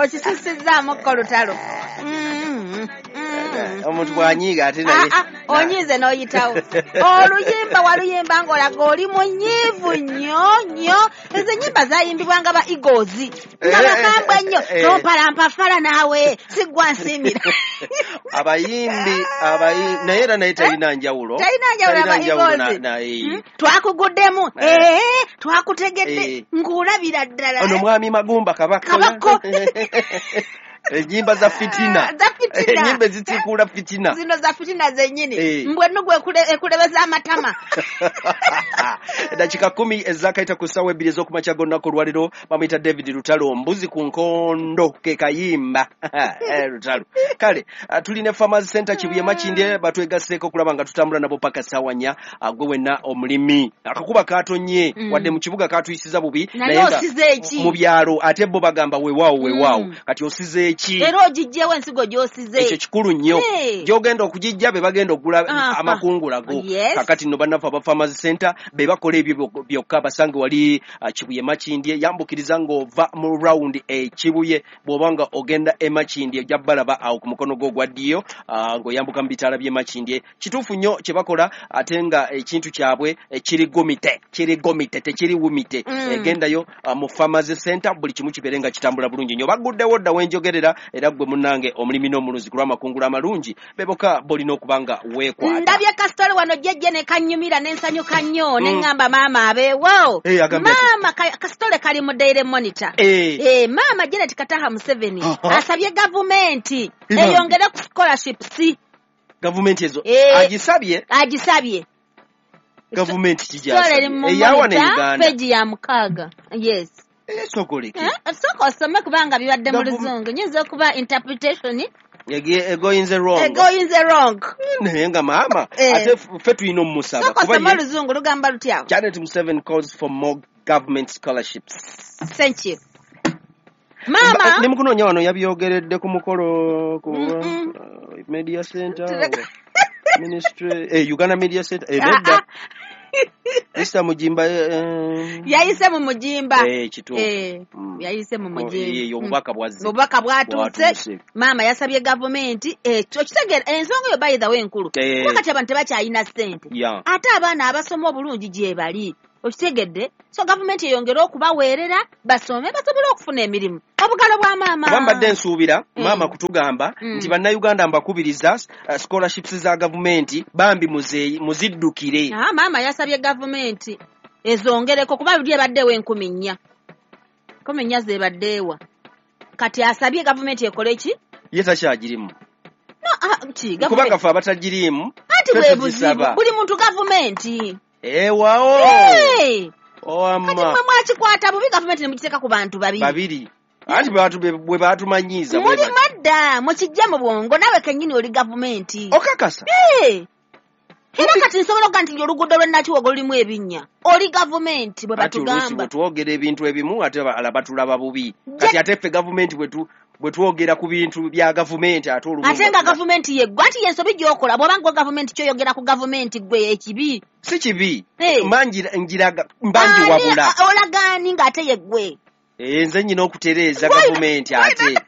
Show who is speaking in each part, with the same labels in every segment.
Speaker 1: Okisusizzaamu ko Lutalo.
Speaker 2: Omuntu bw'anyiiga ate naye.
Speaker 1: Ah, ah, onyiize n'oyitawo. Oluyimba waluyimba ng'olaga oli munyiivu nnyo nnyo. Ezo ennyimba zayimbibwanga ba Eagles nga bakambwe nnyo. Tompalampa fala naawe siggwa nsiimira.
Speaker 2: Abayimbi abayi naye era naye talina njawulo.
Speaker 1: Talina njawulo aba Eagles. Twakuguddemu, twakutegedde, ng'olabira ddala.
Speaker 2: Ono mwami Magumba Kabako.
Speaker 1: Kabako.
Speaker 2: Ennyimba za fitina.
Speaker 1: Za fitina.
Speaker 2: Ennyimba ezitiikuula fitina.
Speaker 1: Zino za fitina zennyini. Mbwe ennugu ekulebeza amatama.
Speaker 2: Eddakiika 10 ezakaita ku ssaawa 2 ez'okumakya g'olunaku olwaleero, bamuyita David Lutalo, mbuzi ku nkondo ke kayimba. Lutalo. Kale tulina Farmers Center Kibuye Makindye, batwegasseeko okulaba nga tutambula nabo paka ssaawa 4. Gwe wenna omulimi, akakuba katonye, wadde mu kibuga katuyisiza bubi,
Speaker 1: naye osize eki
Speaker 2: mu byalo ate bo bagamba weewaawo weewaawo. Kati osize eki?
Speaker 1: Era ogijjewo ensigo gy'osize.
Speaker 2: Ekyo kikulu nnyo. Gy'ogenda okugijja be bagenda okugula amakungula go. Kakati nno bannaffe aba Farmers Center be bakola ebyo byokka. Basange wali Kibuye Makindye, yambukiriza ng'ova mu round e Kibuye, bw'oba nga ogenda e Makindye ojja balaba awo ku mukono gwo ogwa ddyo, ng'oyambuka mu bitaala by'e Makindye. Kituufu nnyo kye bakola, ate nga ekintu kyabwe kiri gomite, kiri gomite, tekiri wumite. Gendayo mu Farmers Center, buli kimu kibeere nga kitambula bulungi nnyo. Baguddewo dda wenjogerera, era gwe munnange omulimi n'omulunzi ku lw'amakungula amalungi beboka bolina okuba nga weekwata.
Speaker 1: Ndabye kasitole wano jjejje ne kannyumira ne nsanyuka nnyo, ne ŋŋamba maama abeewo. Maama kasitole kali mu Daily Monitor. Maama Janet Kataha Museveni asabye gavumenti eyongere ku scholarships.
Speaker 2: Gavumenti ezo agisabye?
Speaker 1: Agisabye.
Speaker 2: Gavumenti kijasabye eyawa ne Uganda.
Speaker 1: Peji ya 6. Yes.
Speaker 2: Sogoleke.
Speaker 1: Sooka osome kubanga bibadde mu Luzungu. Nyinza okuba interpretation
Speaker 2: egoyinze wrong.
Speaker 1: Egoyinze wrong.
Speaker 2: Naye nga maama ate ffe tulina omumusaba.
Speaker 1: Sooka osome Oluzungu lugamba lutya?
Speaker 2: Janet Museveni calls for more government scholarships.
Speaker 1: Thank you. Maama
Speaker 2: ne mukunoonya wano yabyogeredde ku mukolo ku Media Center Ministry, Uganda Media Center, nedda. Mr. Mujimba
Speaker 1: yayise mu Mujimba.
Speaker 2: Kituufu.
Speaker 1: Yayise mu Mujimba.
Speaker 2: Obubaka bwazze.
Speaker 1: Obubaka bwatuuse. Maama yasabye gavumenti okitegeera ensonga eyo by the way enkulu. Kuba kati abantu tebakyalina ssente. Ate abaana abasoma obulungi gye bali. Okitegedde? So gavumenti eyongere okubaweerera basome basobole okufuna emirimu. Obugalo bwa maama.
Speaker 2: Kuba mbadde nsuubira maama kutugamba nti bannayuganda mbakubiriza scholarships za gavumenti bambi muziddukire.
Speaker 1: Maama yasabye gavumenti ezongereko kuba buli ebaddewo 4,000. 4,000 zebaddeewa. Kati asabye gavumenti ekole ki?
Speaker 2: Ye takyagirimu.
Speaker 1: No, ki
Speaker 2: kubanga ffe abatagiriimu.
Speaker 1: Anti bwe buzibu buli muntu gavumenti.
Speaker 2: Ewawo. Owamma.
Speaker 1: Kati mwe mwakikwata bubi gavumenti ne mugiteeka ku bantu babiri.
Speaker 2: Anti bwe baatumanyiiza.
Speaker 1: Muli madda mukijja mu bwongo naawe kennyini oli gavumenti.
Speaker 2: Okakasa?
Speaker 1: Era kati nsobola okuga nti oluguudo lw'e Nakiwogo lulimu ebinnya. Oli gavumenti bwe batugamba.
Speaker 2: Ati oluusi bwe twogera ebintu ebimu ate batulaba bubi. Kati ate ffe gavumenti bwe twogera ku bintu bya gavumenti ate olumu.
Speaker 1: Ate nga gavumenti yeggwe, anti y'ensobi gy'okola bw'oba nga gavumenti ky'oyogera ku gavumenti ggwe ekibi.
Speaker 2: Si kibi. Njiraga mbanjiwabula.
Speaker 1: Olagaani ng'ate yeggwe.
Speaker 2: Nze nnyina okutereeza gavumenti ate.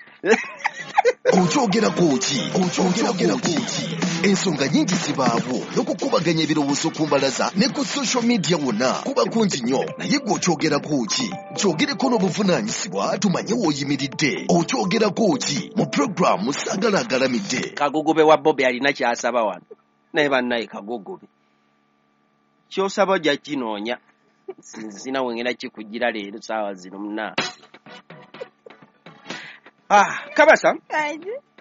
Speaker 3: Okyogerako ki? Okyogerako ki? Ensonga nyingi zibaawo n'okukubaganya ebirowoozo ku mbalaza ne ku social media wonna kuba kungi nnyo, naye gwe okyogerako ki? Kyogereko n'obuvunaanyizibwa tumanye w'oyimiridde. Okyogerako ki? Mu pulogulaamu Saagala Agalamidde.
Speaker 2: Kagugube wa Bobi alina ky'asaba wano, naye bannaye Kagugube ky'osaba ojja kinoonya. Sina wengenda kikugira leero saawa zino munna. Kabasa,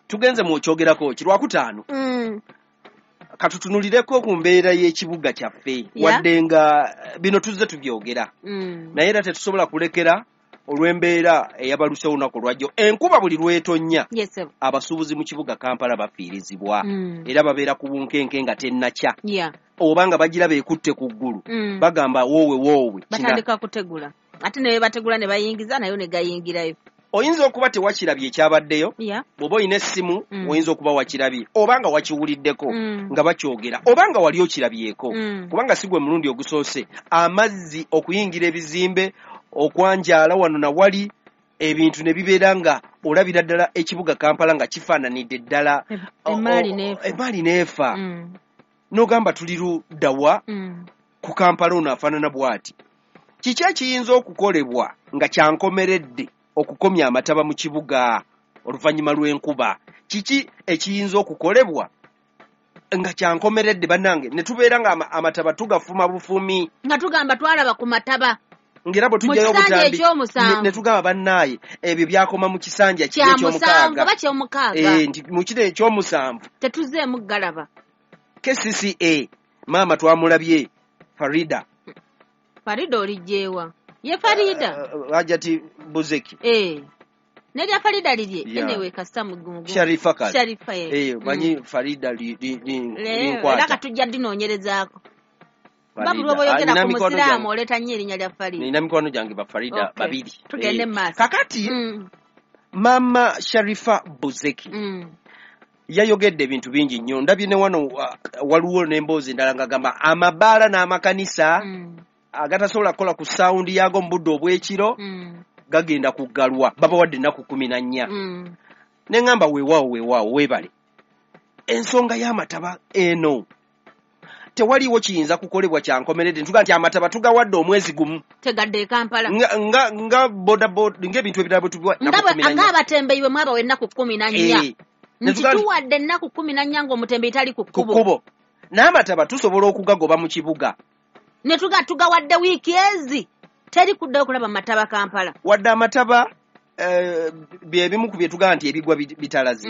Speaker 2: tugenze mu kyogerako ki Lwakutaano. Katutunulireko ku mbeera y'ekibuga kyaffe. Wadde nga bino tuzze tubyogera. Naye era tetusobola kulekera olw'embeera eyabalusewo olunaku olwajjo. Enkuba buli lw'etonnya, abasuubuzi mu kibuga Kampala bafiirizibwa. Era babeera ku bunkenke nga tennakya. Oba nga bagira beekutte ku ggulu. Bagamba woowe woowe.
Speaker 1: Batandika kutegula. Ate ne bategula ne bayingiza nayo ne gayingirayo.
Speaker 2: Oyinza okuba tewakirabye ekyabaddeyo, bw'oba olina essimu oyinza okuba wakirabye oba nga wakiwuliddeko nga bakyogera oba nga wali okirabyeko, kubanga si gwe mulundi ogusoose amazzi okuyingira ebizimbe, okwanjaala wano na wali. Ebintu ne bibeera nga olabira ddala ekibuga Kampala nga kifaananidde ddala
Speaker 1: emaali
Speaker 2: n'efa. N'ogamba tuli luddawa ku Kampala ono afaanana bw'ati. Kiki ekiyinza okukolebwa nga kyankomeredde okukomya amataba mu kibuga oluvannyuma lw'enkuba? Kiki ekiyinza okukolebwa nga kyankomeredde bannange ne tubeera nga amataba tugafuma bufumi,
Speaker 1: nga tugamba twalaba ku mataba,
Speaker 2: ngera bwe tujjayo obutambi ne tugamba bannaaye ebyo byakoma mu kisanja kiri ekyomukaaga
Speaker 1: oba kyomukaaga,
Speaker 2: nti mu kiro ekyomusanvu
Speaker 1: tetuzeemu galaba.
Speaker 2: KCCA maama twamulabye Farida.
Speaker 1: Farida olijjeewa? Ye Farida
Speaker 2: Hajati Buzeki
Speaker 1: nerya Farida lirye anyway kasita mugumu
Speaker 2: Sharifa kale
Speaker 1: Sharifa
Speaker 2: manyi Farida linkwata
Speaker 1: era katujja dinoonyerezaako. Babulwa boyogera ku musiraamu oleeta nnyo erinnya lya Farida.
Speaker 2: Nina mikwano gyange ba Farida babiri.
Speaker 1: Tugende mu maaso.
Speaker 2: Kakati Mama Sharifa Buzeki yayogedde ebintu bingi nnyo. Ndabye ne wano waliwo n'emboozi endala ng'agamba amabaala n'amakanisa agatasobola kukola ku saawundi yaago mu budde obw'ekiro gagenda kuggalwa, babawadde ennaku 14. Ne ŋŋamba weewaawo weewaawo weebale. Ensonga y'amataba eno tewaliwo kiyinza kukolebwa kyankomeredde. Ntuga nti amataba tugawadde omwezi gumu
Speaker 1: tegadde e Kampala
Speaker 2: nga nga boda ng'ebintu ebirala bwe tubiwa
Speaker 1: nga abatembeyi bwe mwabawa ennaku 14 nti tuwadde ennaku 14 ng'omutembeyi tali ku
Speaker 2: kkubo. N'amataba tusobola okugagoba mu kibuga
Speaker 1: ne tugawadde wiiki ezi teri kuddayo kulaba mataba Kampala.
Speaker 2: Wadde amataba bye bimu ku bye tugamba nti ebigwa bitalaze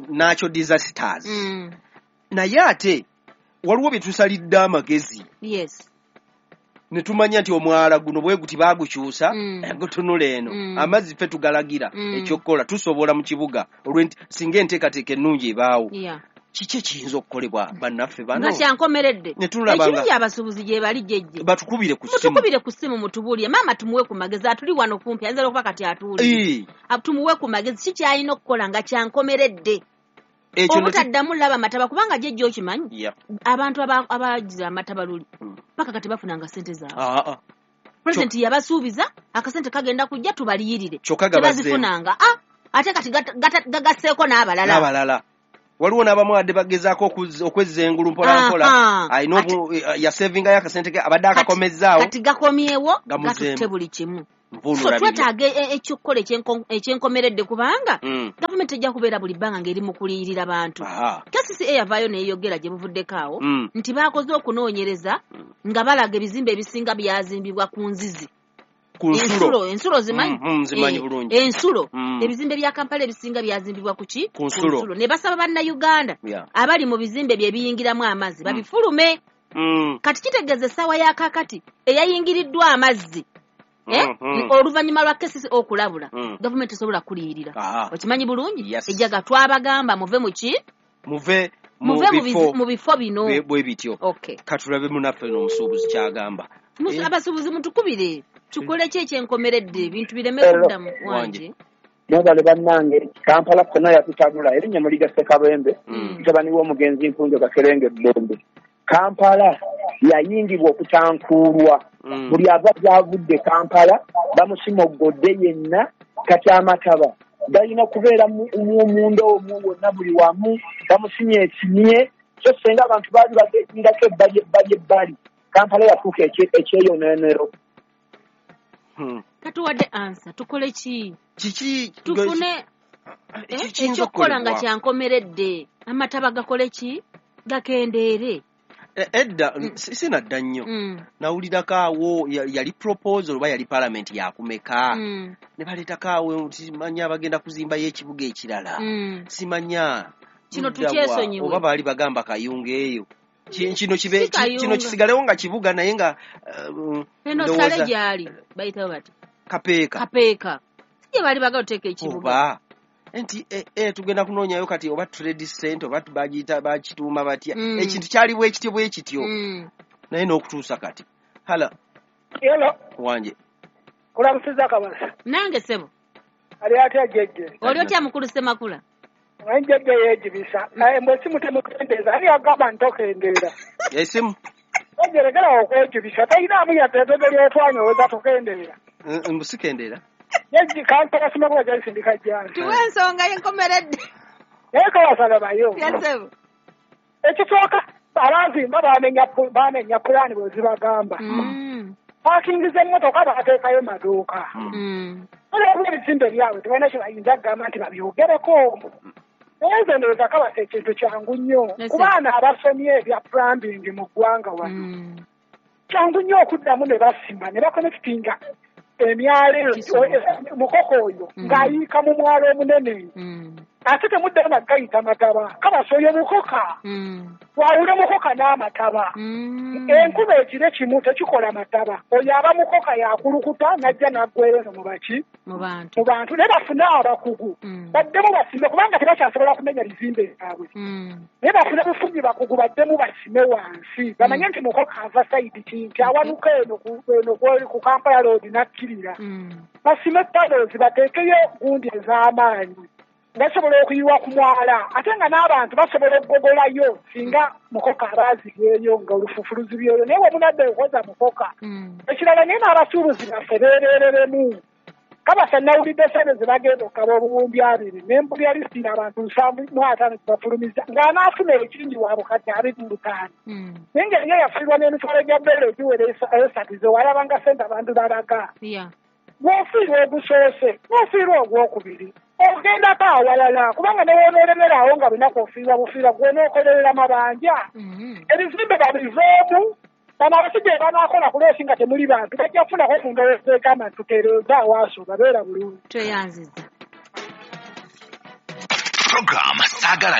Speaker 2: natural disasters. Naye ate waliwo bye tusalidde amagezi.
Speaker 1: Yes.
Speaker 2: Ne tumanya nti omwala guno bwe guti baagukyusa gutunula eno amazzi ffe tugalagira ekyokukola tusobola mu kibuga olw'enti singa enteekateeka ennungi ebaawo. Kiki ekiyinza okukolebwa bannaffe bano
Speaker 1: nga kyankomeredde? Ekirungi abasuubuzi gye bali jjejje
Speaker 2: batukubire ku ssimu,
Speaker 1: mutukubire ku ssimu mutubuulire. Maama tumuwe ku magezi, atuli wano kumpi ayinza okuba kati atuulire. Tumuwe ku magezi ki ky'alina okukola nga kyankomeredde obutaddamu laba mataba, kubanga jjejje okimanyi abantu abagize amataba luli paka kati bafunanga ssente zaabwe. Pulezidenti yabasuubiza akasente kagenda kujja tubaliyirire, tebazifunanga. Ate kati gagasseeko n'abalala.
Speaker 2: Waliwo n'abamu adde bagezaako okwezza engulu mpola mpola, alina yasevingayo akasente ke abadde akakomezzaawo
Speaker 1: kati gakomyewo gatutte buli kimu. So twetaaga ekyokukola ekyenkomeredde kubanga gavumenti ejja kubeera buli bbanga ng'eri mu kuliyirira bantu. KCCA yavaayo neeyogera gye buvuddeko awo nti baakoze okunoonyereza nga balaga ebizimbe ebisinga byazimbibwa ku nzizi. Ensulo zimanyi?
Speaker 2: Nzimanyi bulungi.
Speaker 1: Ensulo. Ebizimbe bya Kampala ebisinga byazimbibwa ku ki? Ku nsulo. Ne basaba bannayuganda abali mu bizimbe bye biyingiramu amazzi babifulume. Kati kitegeeza essaawa ya kaakati eyayingiriddwa amazzi oluvannyuma lwa KCCA okulabula gavumenti esobola kuliyirira. Okimanyi bulungi? Ejjaga twabagamba muve mu ki?
Speaker 2: Muve
Speaker 1: mu bifo bino
Speaker 2: bwe bityo. Katulabe munaffe n'omusuubuzi ky'agamba.
Speaker 1: Abasuubuzi mutukubire tukole ki ekyenkomeredde ebintu bireme kuddamu wanje.
Speaker 4: Mwebale bannange, Kampala konna yatutabula erinnya Muliga Ssekabembe mutabani w'omugenzi Mpunjo Gakerenge Ddembe. Kampala yayingibwa okutankuulwa, buli ava gy'avudde Kampala bamusimoggodde yenna. Kati amataba galina kubeera munda omwo wonna buli wamu bamusimye esimye, so senga abantu baali bagendako ebbali ebbali ebbali. Kampala yatuuka ekyeyonoonero.
Speaker 1: Katuwadde ansa tukole ki?
Speaker 2: Kiki
Speaker 1: tufune ekyokukola nga kyankomeredde amataba gakole ki? Gakendeere.
Speaker 2: Edda sinadda nnyo nawulirako awo yali proposal oba yali parliament yakumeka ne baleetako awo simanya abagenda kuzimbayo ekibuga ekirala simanya
Speaker 1: kino tukyesonyiwe
Speaker 2: oba baali bagamba Kayunga eyo kino kisigalewo nga kibuga naye nga
Speaker 1: eno sale gyali bayitawo bati Kapeeka si gye baali bagala oteeka ekibuga
Speaker 2: oba nti tugenda kunoonyayo kati oba trade center oba bagiyita bakituuma batya ekintu kyali bwe kityo bwe kityo naye n'okutuusa kati. Hala wanje
Speaker 5: kulamusiza kabala
Speaker 1: nange ssebo
Speaker 5: ali atya jjejje
Speaker 1: oli otya mukulu Ssemakula?
Speaker 5: Jjejje yeegibisa naye mbwe esimu temukendeeza ani agamba ntokendeera
Speaker 2: esimu
Speaker 5: ojerekera okwegibisa tayinaamu yadde eddebe lyotwanyoweza tukendeera
Speaker 2: mbu sikendeera
Speaker 5: Yajji Kampala simakuba gyalisindika jjana.
Speaker 1: Tuwe ensonga y'enkomeredde.
Speaker 5: Naye kawasalabayo.
Speaker 1: Yes.
Speaker 5: Ekisooka abazimba bamenya pulaani bwe zibagamba. Paakingi z'emmotoka bateekayo maduuka. Olwo ebizimbe byabwe tebalina kye bayinza kugamba nti babyogereko. Naye nze ndowooza kabasa ekintu kyangu nnyo ku baana abasomye ebya plumbing mu ggwanga wano. Kyangu nnyo okuddamu ne basima ne bakonekitinga emyalo mukoko oyo ng'ayiika mu mwalo omunene. Ate temuddayo nagayita mataba kabasa oyo mukoka. Wawule mukoka n'amataba. Enkuba ekiro kimu tekikola mataba. Oyo aba mukoka yakulukuta n'ajja n'aggwera eno mu baki?
Speaker 1: Mu bantu.
Speaker 5: Mu bantu naye bafune abakugu. Baddemu basime kubanga tebakyasobola kumenya bizimbe byabwe. Naye bafune bufunyi bakugu baddemu basime wansi. Bamanye nti mukoka ava sayidi ki nti awanuka eno ku Kampala Road n'akkirira. Basime tunnels bateekeyo gundi ez'amaanyi. Basobola okuyiwa ku mwala ate nga n'abantu basobola okugogolayo singa mukoka abaazibyeyo nga olufuufu luzibyeyo naye bwe munadde okoza mukoka. Ekirala naye n'abasuubuzi baffe beerereremu. Kabasa nawulidde ssente ze bagenda okukaba 20,000 ne mpulira lisiti abantu 75 bafulumiza ng'anaafuna ekingi wa bukadde 25. Naye ng'eriyo yafiirwa n'emitwalo gya bbeere egiwera esatu ze walabanga ssente abantu balaga. Bw'ofiirwa ogusoose n'ofiirwa ogwokubiri ogendako awalala kubanga ne w'onoolemerawo nga lunaku ofiirwa bufiirwa gw'onookolerera mabanja. Ebizimbe babiveemu bano abasajja banaakola ku loosi nga temuli bantu bajja kufunako ku ndowooza egamba nti tutereeze awaaso babeera bulungi.
Speaker 1: Tweyanziza.
Speaker 3: Program Saagala.